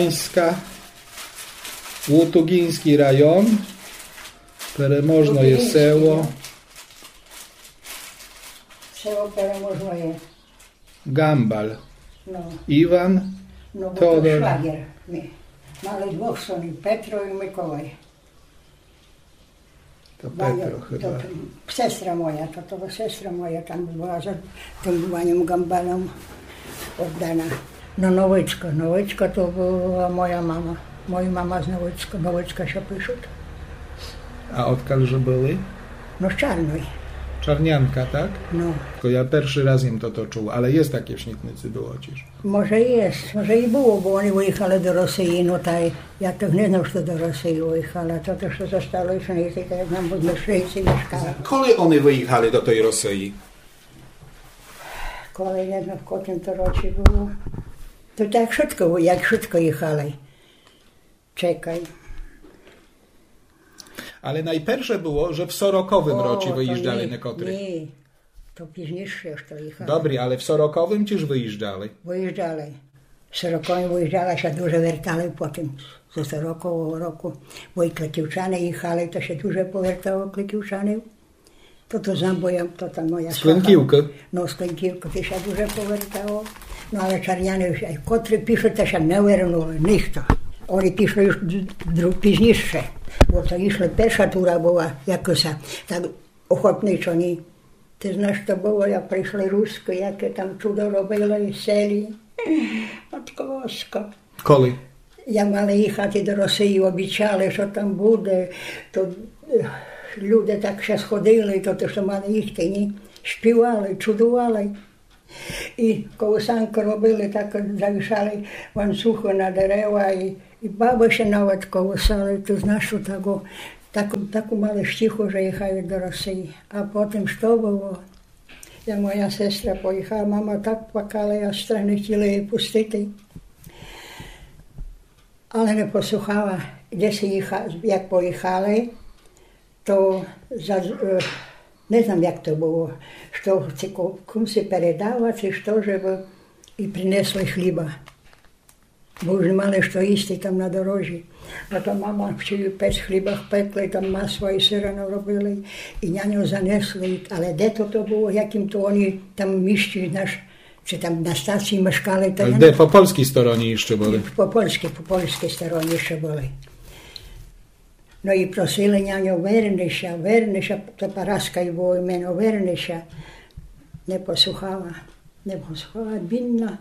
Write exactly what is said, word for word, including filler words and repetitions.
Łutugińska, Łutugiński rajon, Переможноє село. Село Переможноє. Гамбаль. Но. Іван, но, бо то Тодор. Швагер мій. Мали двох сынів, Петро і Миколай. То Петро хыба. Сестра моя, то, то сестра моя там была за тым паньом Гамбалем оддана. Но, Новичка, Новичка то была моя мама. Моя мама з Новичка, Новичка ся пишут. А одкаль же были? Но, з Чарной. Чарнянка, так? Но. То я першый раз єм тото чув, але єст таке в Снітниці, было тіж. Може єст, може і было, бо они выіхали до Росиі, но та я тых не знав, што до Росиі выіхали, а тото, што зостало, што не так, як нам в Мешрици мешкали. Коли они выіхали до той Росиі? Коли, не знам, в котрым то році было. То так швидко, як швидко їхали. Чекай. Але найперше было, же в сороковым році выїжджали некотры. Ні, то пізнійше, што їхали. Добрі, але в сороковым тіж выїжджали? Выїжджали. В сороковым выїжджали, ся дуже вертали потім. Зо сорокового року. Бо і Кликівчани їхали, то ся дуже повертало Кликівчанів. То, то знам, бо я, то та моя... З Клинківкы? Но, з Клинківкы, то ся дуже повертало. Но, але Чарняни, котры пішли, то ся не вернули, нихто. Они пішли уж д-, д-, пізнійше. Бо то ішли, перша тура была, якося, так охотничо, ні. Ты знаш, што было, як пришли Рускы, яке там чудо робили, селі. Матко Боска. Коли? Як мали їхати до Росиі, обіцяли, што там буде, то, е, люде так ся сходили, то, то, што мали їхати, ні? Співали, чудували. І колысанкы робили, так завішали ланцюгы на дерева, і, і бабы ся навет колысали, ты знаш, што таку, таку, таку мали штіху, же їхали до Росиі. А потім што было? Я, моя сестра поїхала, мама так плакала, я аж не хотіла її пустити. Але не послухала, де ся їха-, як поїхали, то за-, е, не знам, як то было, што ци ко-, кумси передала, ци што, жебы і принесли хліба. Бо уж не мали што їсти там на дорозі. А то мама вчили пець, хліба пекли, там масла і сыра наробили, і няньо занесли, але де то, то было, в якім то они там місці, наш, ци там на стациі мешкали, то... А я де, не... По польскій стороні іщы были? По польскій, по польскій стороні іщы были. Но і просили няньо: верни ся, верни ся, то Параска їй было імено, верни ся. Не послухала, не послухала, бідна.